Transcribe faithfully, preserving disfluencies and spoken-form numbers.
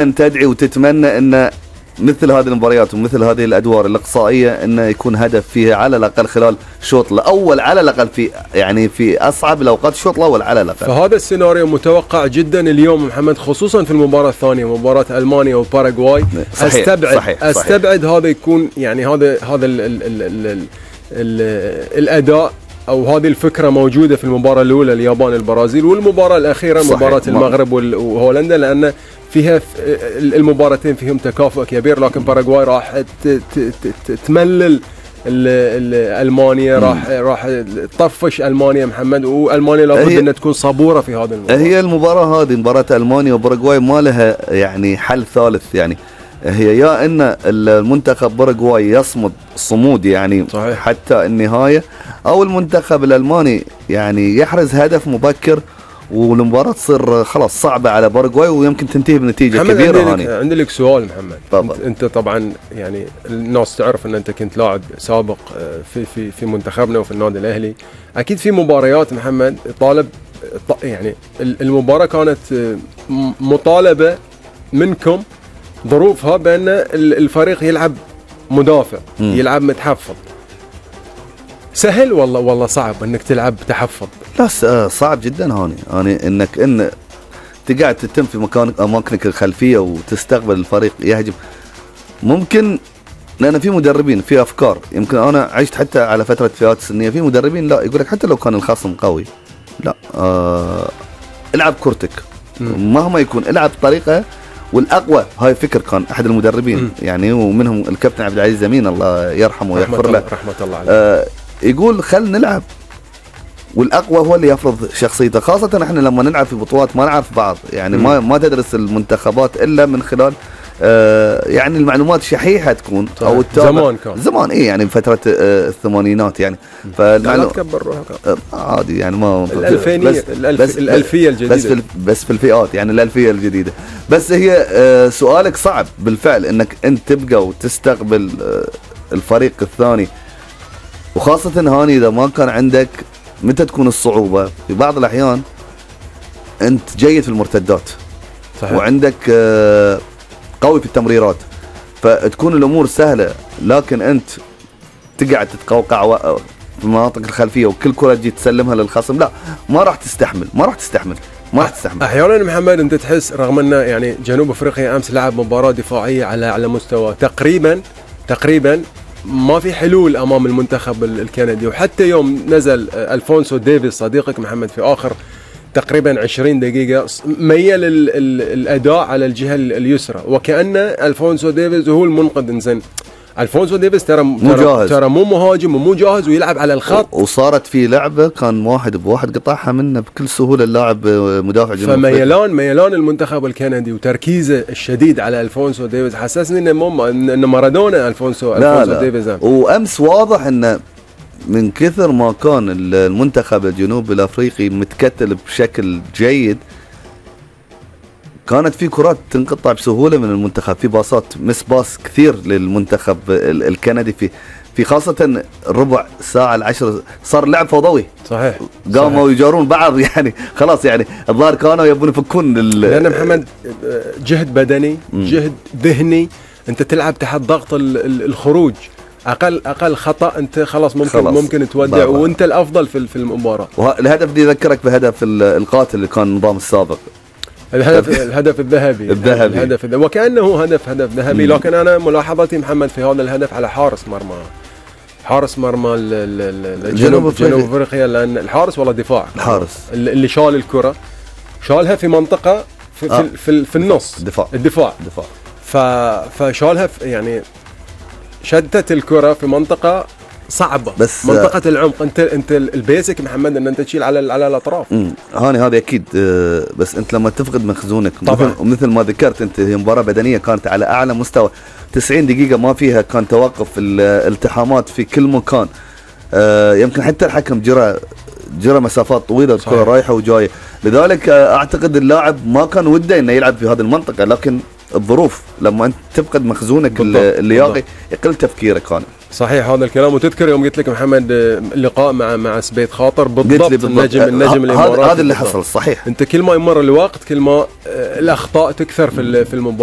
أن تدعي وتتمنى أن مثل هذه المباريات ومثل هذه الأدوار الإقصائية أنه يكون هدف فيها على الأقل خلال شوط الأول، على الأقل في يعني في أصعب الأوقات الشوط الأول على الأقل. فهذا السيناريو متوقع جدا اليوم محمد، خصوصا في المباراة الثانية مباراة ألمانيا وباراغواي. صحيح استبعد صحيح استبعد صحيح. هذا يكون يعني هذا هذا ال ال ال ال ال ال الأداء أو هذه الفكرة موجودة في المباراة الأولى اليابان البرازيل، والمباراة الأخيرة صحيح. مباراة المغرب وهولندا، لأن فيها المباراتين فيهم تكافؤ كبير، لكن باراغواي راح تملل المانيا، راح راح تطفش المانيا محمد، والمانيا لابد انها تكون صبوره في هذا المباراه. هي المباراه هذه مباراه المانيا وباراغواي ما لها يعني حل ثالث، يعني هي يا ان المنتخب باراغواي يصمد صمود يعني صحيح. حتى النهايه، او المنتخب الالماني يعني يحرز هدف مبكر والمباراة تصير خلاص صعبة على باراغواي ويمكن تنتهي بنتيجة كبيرة. عندي لك, عندي لك سؤال محمد. طبعا. انت, انت طبعا يعني الناس تعرف ان انت كنت لاعب سابق في في في منتخبنا وفي النادي الاهلي، اكيد في مباريات محمد طالب يعني المباراة كانت مطالبة منكم ظروفها بان الفريق يلعب مدافع م. يلعب متحفظ. سهل والله والله صعب انك تلعب تحفظ؟ لا صعب جدا هوني، هوني انك ان تقعد تتم في مكان اماكنك الخلفيه وتستقبل الفريق يهجم. ممكن لان في مدربين في افكار، يمكن انا عشت حتى على فتره فئات سنيه، في مدربين لا يقول لك حتى لو كان الخصم قوي لا آه العب كرتك مهما يكون، العب بطريقه والاقوى. هاي فكر كان احد المدربين م. يعني ومنهم الكابتن عبد العزيز امين الله يرحمه ويغفر له، رحمه الله عليه. آه يقول خل نلعب والاقوى هو اللي يفرض شخصيته، خاصه احنا لما نلعب في بطولات ما نعرف بعض يعني م. ما ما تدرس المنتخبات الا من خلال آه يعني المعلومات شحيحه تكون او زمان كان زمان ايه يعني فتره آه الثمانينات يعني. فالمعلومات تكبر روحك آه عادي يعني ما الالفينيه بس الألف بس الالفيه الجديده بس في بس في الفئات يعني الالفيه الجديده. بس هي آه سؤالك صعب بالفعل انك انت تبقى وتستقبل آه الفريق الثاني، وخاصه هاني اذا ما كان عندك. متى تكون الصعوبة؟ في بعض الأحيان أنت جيد في المرتدات صحيح. وعندك قوي في التمريرات، فتكون الأمور سهلة، لكن أنت تقعد تتقوقع في المناطق الخلفية وكل كرة تجي تسلمها للخصم، لا ما راح تستحمل ما راح تستحمل ما راح تستحمل. أحيانا محمد أنت تحس رغم أن يعني جنوب أفريقيا أمس لعب مباراة دفاعية على على مستوى تقريبا تقريبا ما في حلول امام المنتخب الكندي، وحتى يوم نزل الفونسو ديفيز صديقك محمد في اخر تقريبا عشرين دقيقه ميل الاداء على الجهه اليسرى، وكأن الفونسو ديفيز هو المنقذ. انزين الفونسو ديفيز ترى مو ترى مو مهاجم ومو جاهز ويلعب على الخط، وصارت في لعبه كان واحد بواحد قطعها منه بكل سهوله اللاعب مدافع جنوب. فميلان ميلان المنتخب الكندي وتركيزه الشديد على الفونسو ديفيز حسسني انه مو انه مارادونا الفونسو لا الفونسو لا. ديفيز. وامس واضح انه من كثر ما كان المنتخب الجنوب الافريقي متكتل بشكل جيد، كانت في كرات تنقطع بسهوله من المنتخب، في باصات مس باص كثير للمنتخب الكندي في في خاصه ربع ساعه العشر صار لعب فوضوي صحيح. قاموا يجارون بعض يعني خلاص يعني الظاهر كانوا يبون يفكون لان محمد جهد بدني م. جهد ذهني، انت تلعب تحت ضغط الخروج، اقل اقل خطا انت خلاص ممكن خلاص. ممكن تودع بابا. وانت الافضل في في المباراه. والهدف دي يذكرك بهدف القاتل اللي كان النظام السابق، الهدف الهدف الذهبي الذهبي الهدف الذهبي وكأنه هدف هدف ذهبي. لكن انا ملاحظتي محمد في هذا الهدف على حارس مرمى حارس مرمى الجنوب جنوب افريقيا، لان الحارس ولا دفاع الحارس اللي شال الكره شالها في منطقه في في, آه. في, في النص دفاع الدفاع دفاع فشالها يعني شدت الكره في منطقه صعبه، بس منطقه العمق. انت انت البيسك محمد ان انت تشيل على على الاطراف. امم هاني هذا اكيد، بس انت لما تفقد مخزونك طبعا مثل ما ذكرت انت، هي مباراه بدنيه كانت على اعلى مستوى، تسعين دقيقه ما فيها كان توقف الالتحامات في كل مكان. يمكن حتى الحكم جرى جرى مسافات طويله، الكره رايحه وجايه، لذلك اعتقد اللاعب ما كان وده انه يلعب في هذه المنطقه، لكن الظروف لما انت تفقد مخزونك اللياقي يقل تفكيرك. كان صحيح هذا الكلام. وتذكر يوم قلت لك محمد اللقاء مع مع سبيت خاطر بالضبط, بالضبط. النجم النجم الاماراتي هذا اللي حصل صحيح. انت كل ما يمر الوقت كل ما الاخطاء تكثر في في المباراه.